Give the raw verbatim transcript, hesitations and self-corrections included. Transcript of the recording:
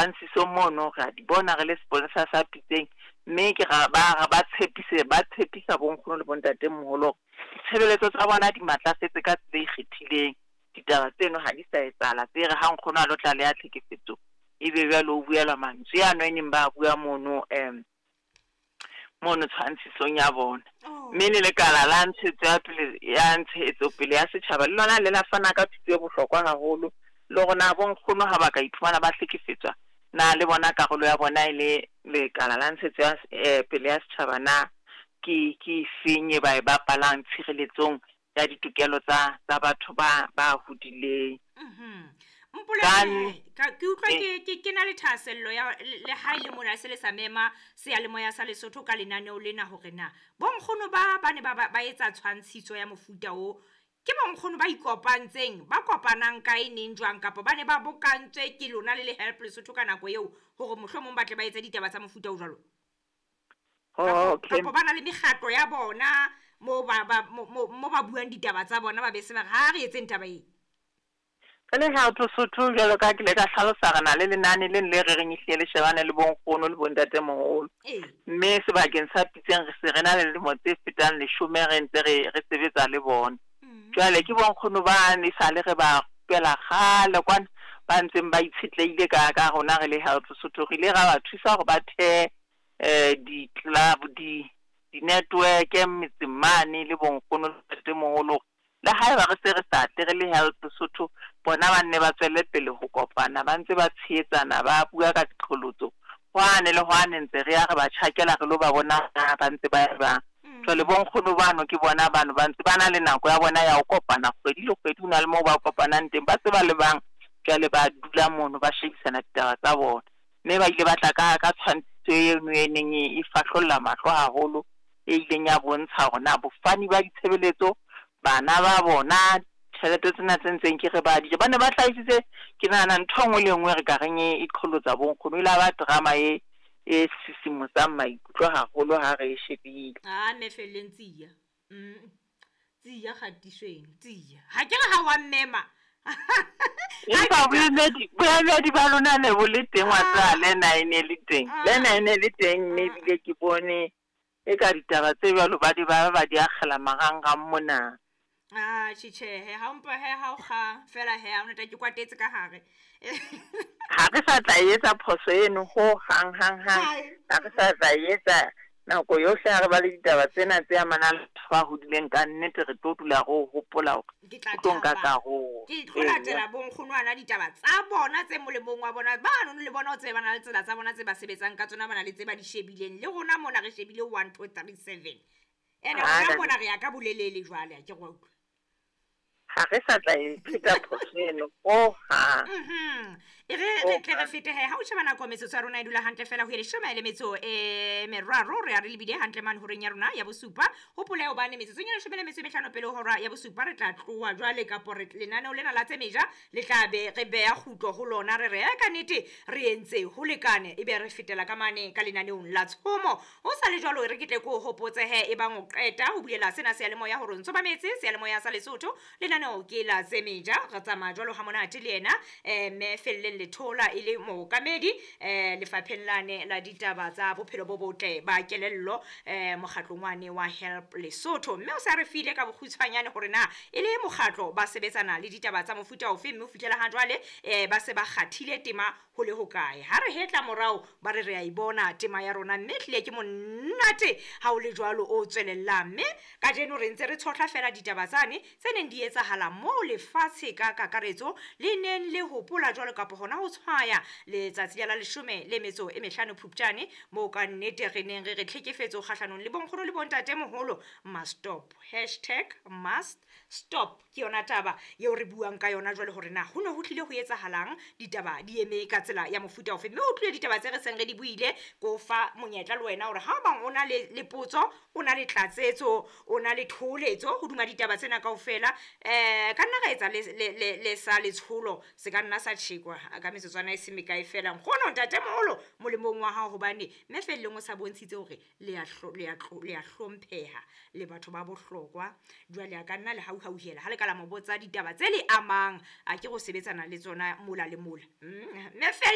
Tshwantshisong mono re a di bona re le sepolesa sa Pitseng, mme ke ra ba ba tshepise ba tshepisa bonkgono le bontatemoholo hore ditshebeletso tsa bona di matlafetse ka tsela e ikgethileng. Ditaba tseno ha di sa etsahala tse re ha nkgono a lo tlaleha tlhekefetso ebe jwale o buelwa mantswe ano e neng ba bua mono um mono tshwantshisong ya bona. Oh. Mme le lekala la ntshetso ya pele ya ntshetsopele ya setjhaba le lona le la fana ka thuto e bohlokwa haholo, le hore na bonkgono ha ba ka iphumana ba hlekefetswa na le bona karolo ya bona e le lekala la ntshetso ya eh, pele ya setjhaba na ke ke efeng e ba e bapalang tshireletsong ya ditokelo tsa tsa batho ba ba hodileng. Mhm. Ka Mpolelle ka ke utlwa Eh. ke ke ke na le thahasello ya le le ha ile mona se le sa mema seyalemoya sa Lesotho ka lenaneo lena hore na bonkgono ba ba ne ba ba ba etsa tshwantshiso ya mofuta o ke bonkgono ba ikopantseng ba kopanang kae neng jwang kapa ba ne ba bokantswe ke lona le le Help Lesotho ka nako eo hore mohlomong ba tle ba etse ditaba tsa mofuta o jwalo. Oh, okay. Kapa ba na le mekgatlo ya bona mo ba ba mo mo mo ba buang ditaba tsa bona ba be se ba re ha re etseng taba e. Re le Help Lesotho jwalo ka ha ke ile ka hlalosa re na le lenane le le re reng ehlile le shebane le bonkgono le bontatemoholo. Ee. Mme sebakeng sa Pitseng re se re na le dilemo tse fetang leshome re ntse re re sebetsa le bona. Mhm. Jwale ke bonkgono bane esale re ba rupela kgale kwana ba ntseng ba itshetlehile ka ka rona re le Help Lesotho. Re ile ra ba thusa hore ba thehe eh di-club di di-network metseng mane le bonkgono le bontatemoholo hore le haeba re se re sa tle re le Help Lesotho bona ba nne ba tswelle pele ho kopana ba ntse ba tshehetsana ba bua ka diqholotso hwane le hwane ntse re ya re ba tjhakela re lo ba bona na ba ntse ba jwang. Jwale bonkgono bano ke bona bano ba ntse ba na le nako ya bona ya ho kopana kgwedi le kgwedi ho na le moo ba kopanang teng ba se ba le bang jwale ba dula mono ba shebisana ditaba tsa bona. Mme ba ile ba tla ka ka tshwantshiso eno e neng e fahlolla mahlo haholo e ileng ya bontsha hore na bofani ba ditshebeletso bana ba bona tjhelete tsena tse ntseng ke re ba di ja ba ne ba hlahisitse ke nahana ntho e nngwe le e nngwe re ka reng e e qholotsa bonkgono. E la ba drama e e sisimosang maikutlo haholo ha re e shebile. Ah mme Felleng tsia. Mm. Tsia kgatiso eno tsia. Ha ke re ha wa mmema. Empa boemedi boemedi ba lona ne bo le teng wa tseba le ena e ne le teng. Le ena e ne le teng mme ebile ke bone e ka ditaba tse jwalo ba di ba ba di akgela marangrang mona. Ah tjhe tjhe ha o mpa he ha o kga fela he ha ona ke kwatetse ka hare. Ha re sa tla etsa phoso eno ho hang hang hang. Ha re sa tla etsa nako yohle ha re ba le ditaba tsena tse amanang le batho ba hodileng ka nnete re tlo dula re o hopola hore Ke tla o tlo nka thaba. karolo. Ke tlo latela bonkgonwana ditaba tsa bona tse molemong wa bona. Bano le bona o tsebe ba na le tsela tsa bona tse ba sebetsang ka tsona ba na le tse ba di shebileng. Le rona mona re shebile one two three seven. Ene Ah, rona ka- mona re ya ka bolelele jwale ha ke re wa utlwa. Ha re sa tla e pheta phoso eno ho hang. Mhm. E re re tle re fete he ha o sheba nako metsotso ya rona e dula hantle fela ho ye leshome le metso e meraro re ya re lebile hantle mane horeng ya rona ya bosupa. Hopola hobane metsotsong ya leshome le metso e mehlano pele ho hora ya bosupa re tla tloha jwale kapo re lenaneo lena la tse meja le tla be re beha kgutlo ho lona re re eh, ka nnete re entse ho lekane ebe re fetela ka mane ka lenaneong la tshomo. Ho sa le jwalo re ke tle ke o hopotse he e bang o qeta ho bulela sena seyalemoya hore o ntso mametse seyalemoya sa Lesotho lenaneo ke la tse meja re tsamaya jwalo ha monate le yena eh mme Felleng Lethola e le mookamedi eh lefapheng lane la ditaba tsa bophelo bo botle ba kelello eh mokgatlong wane wa Help Lesotho mme o sa re file ka bokgutshwanyane hore na e le mokgatlo ba sebetsana le ditaba tsa mofuta ofe mme ho fihlela ha jwale eh ba se ba kgathile tema ho le hokae ha re hetla morao ba re re a ibona tema ya rona mme ehlile ke monate ha o le jwalo o tswelellang mme kajeno re ntse re tshohla fela ditaba tsane tse neng di etsahala moo lefatshe ka kakaretso le neng le hopola jwalo kapa hona ho tshwaya letsatsi la leshome le metso e mehlano Phupjane moo ka nnete re neng re re tlhekefetso kgahlanong le bonkgono le bontatemoholo must stop hashtag must stop ke yona taba eo re buang ka yona jwale hore na ho ne ho tlile ho etsahalang ditaba di eme ka tsela ya mofuta ofe mme o tlile ditaba tse re seng re di buile ko fa monyetla le wena hore ha o bang o na le le potso o na le tlatsetso o na le thoholetso hodima ditaba tsena kaofela eh ka nna ra etsa le le le, le sa letsholo se ka nna sa tjhekwa ka metsotswana e se mekae fela nkgono ntatemoholo molemong wa hao hobane mme Felleng o sa bontshitse hore le a hlo- le a tlo- le a hlompheha le batho ba bohlokwa jwale a ka nna le hauhauhela ha le ka la mo botsa ditaba tse le amang a ke go sebetsana le tsona mola le mola Mm, mme Felle